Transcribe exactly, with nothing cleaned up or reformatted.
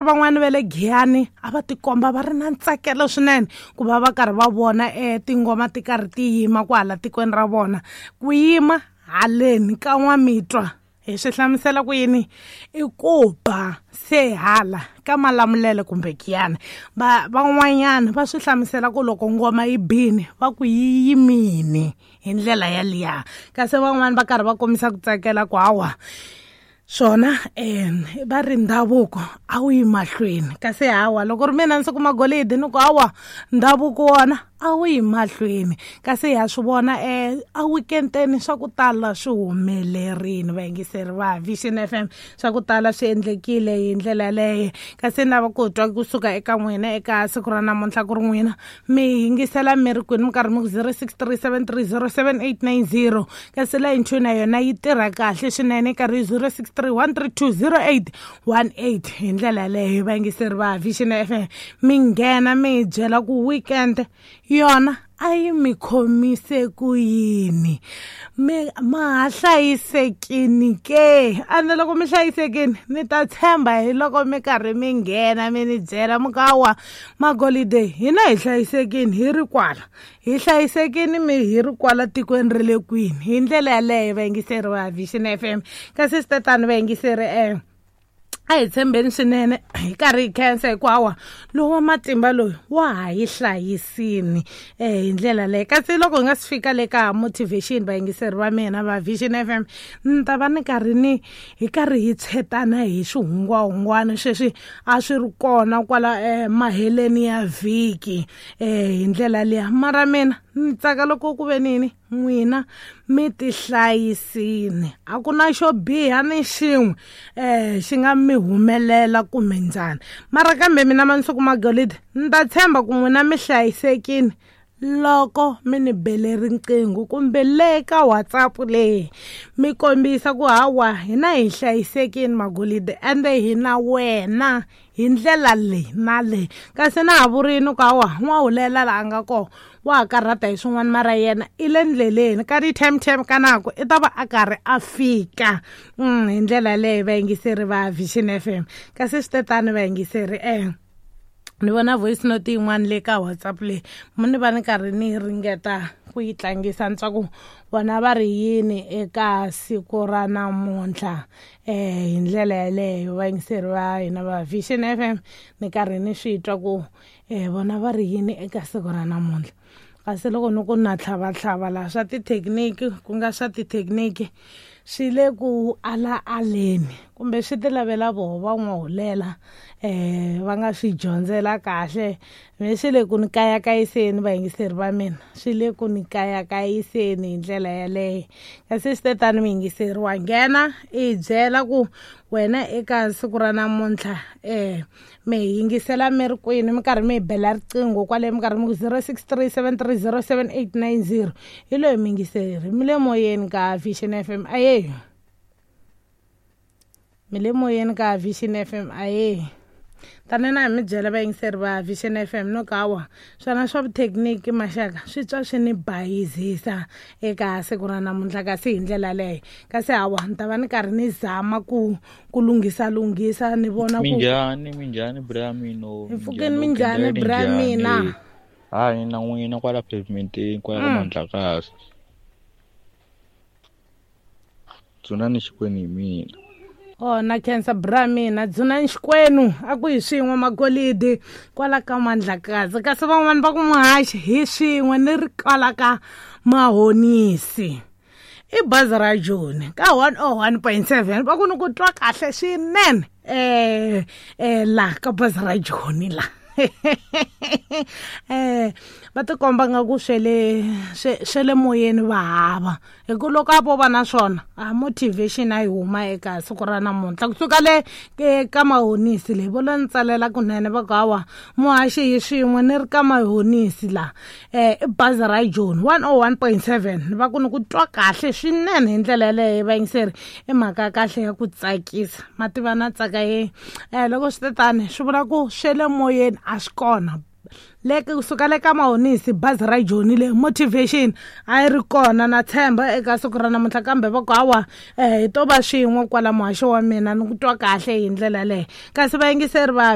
Van'wani va le Giyani a va tikomba va ri na ntsakelo swinene ku va va karhi va vona um tingoma ti karhi ti yima kwahala tikweni ra vona. Ku yima haleni ka N'wamitwa hi swi hlamusela ku yini i ku ba se hala ka Malamulele kumbe Giyani. Va van'wanyana va swi hlamusela ku loko ngoma yi bini va ku yi yimini hi ndlela yaliya, kasi van'wani va karhi va kombisa ku tsakela ku hawa swona um va ri ndhavuko a wu yi mahlweni, kasi hawa loko ri mina ndzi kuma golidi ni ku hawa ndhavuko wona a wu yi mahlweni. Kasi ha swi vona um a weekend-eni swa ku tala swi humelerile vayingiseri va Vision F M, swa ku tala swi endlekile hi ndlela yaleyo. Kasi ni lava ku twa kusuka eka n'wina eka siku ra namuntlha ku ri n'wina mi yingisela mi ri kwini, mi karhi mi ku zero six three seven three zero seven eight nine zero, kasi line two na yona yi tirha kahle swinene karhi zero six three one three two zero eight one eight. Hi ndlela yaleyo vayingiseri va Vision F M mi nghena mi hi byela ku weekend yona a yi mi khomise ku yini, mi ma ha hlayisekini ke? Ande loko mi hlayisekini ni ta tshemba hi loko mi karhi mi nghena mi ni byela mi ku hawa magolide hina hi hlayisekini hi ri kwala, hi hlayisekini mi hi ri kwala tikweni ra le kwini. Hi ndlela yaleyo vayingiseri va Vision F M. Kasi swi tatani vayingiseri um a hi tshembeni swinene hi karhi hi khensa hikuva hawa lowu wa matimba loyi wa ha yi hlayisini um hi ndlela leyo. Kasi loko hi nga si fika le ka motivation vayingiseri va mina va Vision F M, ni ta va ni karhi ni hi karhi hi tshetana hi swihungwahungwana sweswi a swi ri kona kwala um maheleni ya vhiki um hi ndlela liya. Mara mina ni tsaka loko ku ve nini n'wina mi ti hlayisini, a ku na xo biha ni xin'we um xi nga mi humelela kumbe njhani. Mara kambe mina Mansuku Magolide ni ta tshemba ku n'wina mi hlayisekini loko mi ni bele riqingho kumbe le ka WhatsApp leyi mi kombisa ku hawa hina hi hlayisekini Magolide ende hi na wena hi ndlela leyi na leyi. Kasi na ha vurini ku hawa n'wahulela laha nga kona wa ha karhata hi swin'wana, mara yena i le ndleleni ka ti-time-time ka nako i ta va a karhi a fika hi ndlela leyo vayingiseri va Vision F M. Kasi swi tetani vayingiseri um ni vona voice note yin'wana le ka WhatsApp leyi ni va ni karhi ni ringeta ku yi tlangisa ni twa ku vona va ri yini eka siku ra namuntlha um hi ndlela yaleyo vayingiseri va hina va Vision F M ni karhi ni swi twa ku um vona va ri yini eka siku ra namuntlha. Kasi loko ni ku na tlhavatlhava laha swa tithekiniki ku nga swa tithekiniki swi le ku ala aleni kumbe swi ti lavela voho va n'wahulela um va nga swi dyondzela kahle, me swi le ku ni kayakayiseni vayingiseri va mina, swi le ku ni kayakayiseni hi ndlela yaleyo. Kasi swi tetani muyingiseri wa nghena i hi byela ku wena eka siku ra namuntlha um mi hi yingisela mi ri kwini, mi karhi mi hi bela riqingho kwale mi karhi mi ku zero six three seven three zero seven eight nine zero. Hi loyi muyingiseri mi le moyeni ka Vision F M aye, mi le moyeni ka Vision F M aye. Tani na hi mi byela vayingiseri va Vision F M no ka hawa swona swa vuthekiniki maxaka swi twa swi ni bayizisa eka siku ra namuntlha. Kasi hi ndlela leyo kasi hawa ni ta va ni karhi ni zama ku ku lunghisa lunghisa ni vona ku minjhani minjhani bra mina hi pfukeni minjhani bra mina hayi na n'wina kwala pavementeni kwala ka Mandlakazi Dzunani Xikwenu hi mina. Oh na khensa bra mina Dzunani Xikwenu a ku hi swin'we Magolidi kwala ka Mandlakazi. Kasi van'wani va ku muhaxi hi swin'we ni ri kwala ka Mahonisi i bazi ra Joni ka one oh one point seven va ku ni ku twa kahle swinene um um la ka bazi ra Joni la eh va tikomba nga ku swele swele moyeni va hava hi ku loko a vo va na swona a motivation a yi huma eka siku ra namuntlha kusuka le ka Mahonisi leyi vo lo ni tsalela kunene va ku hawa muhaxi hi swin'we ni ri ka Mahonisi la um i bazi ra Joni one oh one point seven va ku ni ku twa kahle swinene hi ndlela yaleyo vayingiseri i mhaka ya kahle ya ku tsakisa mativa na tsaka ye um loko swi tetani swi vula ku swele moyeni a swi kona Le kusuka le ka Mahonisi, bazi ra Joni le motivation a yi ri kona na tshemba eka siku ra namuntlha, kambe va ku hawa um hi to va swin'we kwala muhaxo wa mina, ni ku twa kahle hi ndlela leyo. Kasi vayingiseri va